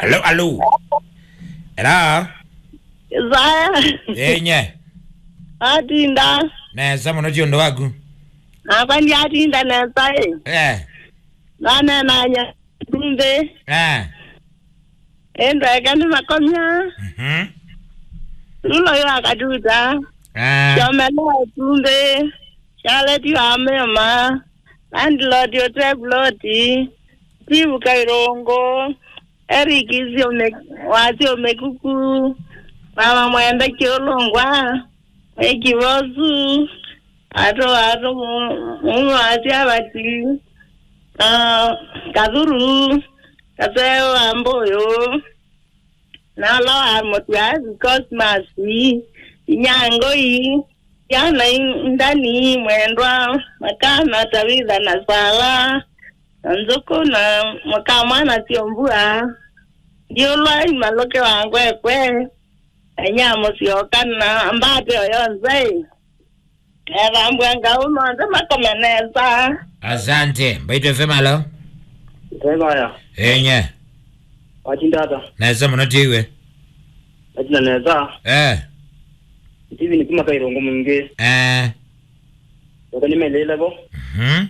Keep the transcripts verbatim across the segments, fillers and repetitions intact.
Alo, alo. Era. Isaya. Enye. Atinda. Nesa mũno ti ũndũ waku. Nakwa ndiatinda nesa ĩ. Eh. Nanenanya ndumbĩ. Eh. Ĩndweke nĩ makomya. Mhm. Lulo yo akatuta. Eh. Kyomela ĩtumbĩ. Charlotte wa Mema. Landlord Otebloti. Steve Kairungu. Eric Siome-, wa Siomekuku, Mama Mwenda Kiulungwa, Meki Vosu, ato, ato, mu-, mume wa Siavati, ah, Kathuru, Kaseo wa Mbuyu, na Loa Mutiazi, Cosmas, Inyangoi, Yana Indani, Mwendwa, Makana, Tavitha na Sala, na Nzuku na Mũkamwana Syombua, Ndiũlwa Imaluke wa Ngwekwe, Enya Mũsyoka na Mbate oyo nzai. Ethambwa ngau monthe makome nesa. Asante. Mbaitũ F M, alo? Tevaya. Enye. Watinda ata? Nesa mũno tiwe. Watinda nesa. Eh. Steven kuma Kairungu Mwingĩ. Eh. Yoka nĩmelĩle vo. Mhm.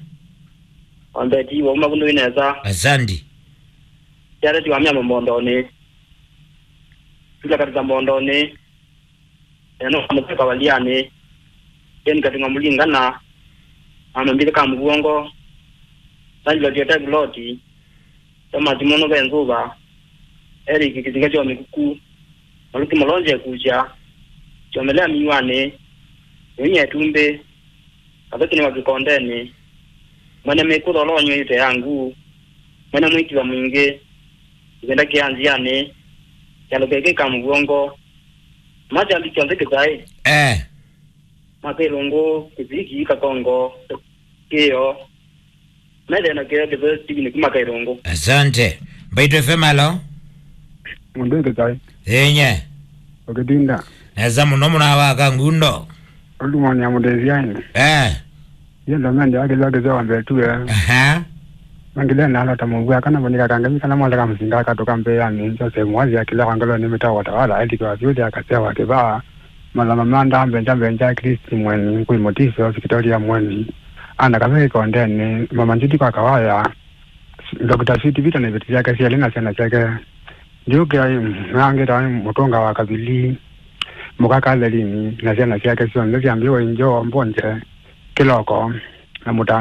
Wambeti wauma kundu inesa. Asante. Charlotte wa Mema Mbondonĩ. Tula Katita Mbondonĩ. Eno Mũseka Walianĩ. Ken Katunga Mulingana. Amambile ka Mũvongo. Sanjila Jota Gloti. Thomas Mono Benzova. Eric Kisinga Kyo Mikuku. Maluki Malonje Kucha. Kyomelea Miwani. Nyonya Tumbe. Kathũkĩnĩ wa kĩkondenĩ, mwene mĩkũtho ũla ũnyw'ĩte ya nguu, mwene mwĩkiva mwingĩ, kĩvenda kĩa nzĩanĩ, kyalo kĩkĩ ka mũvwongo, makyali kyonthe kĩtaĩ, eh, makĩlũngũ, kĩviki, kakongo, kĩo, methĩe na kĩo kĩtheo Steven kuma Kairungu. Asante. Mbaitũ F M, alo? Mũndũ kĩtaĩ. Enye. Ũkĩtinda. Nesa mũno mũna wa kangundo. Ũndũ mwana ya mũteithia ĩndĩ. Eh. Yenda mende akĩlwa kĩseo mbetue. Aha. Mangile na alota mũvua kana vonika kangemi kana mole kamsinga katoka mbeani Joseph Mwazi akĩlwa kwa ngolo nĩ mĩtao watawala aithikiwa vyũthi akasewa kĩvaa. Malama manda mbenja mbenja Kristi mweni kwĩ mũtisi wa sikitoria mweni. Ana kavei kondeni mama Njiti kwa kawaya. Doctor Sweet Vita na iveti syake syelĩ na syana syake. Ndyũkĩa ĩ, nangĩta ĩ, mũtũnga wa kavili, mũka Kathelini, na syana syake syonthe syambĩwe injo mbonje kĩloko na mũtanda.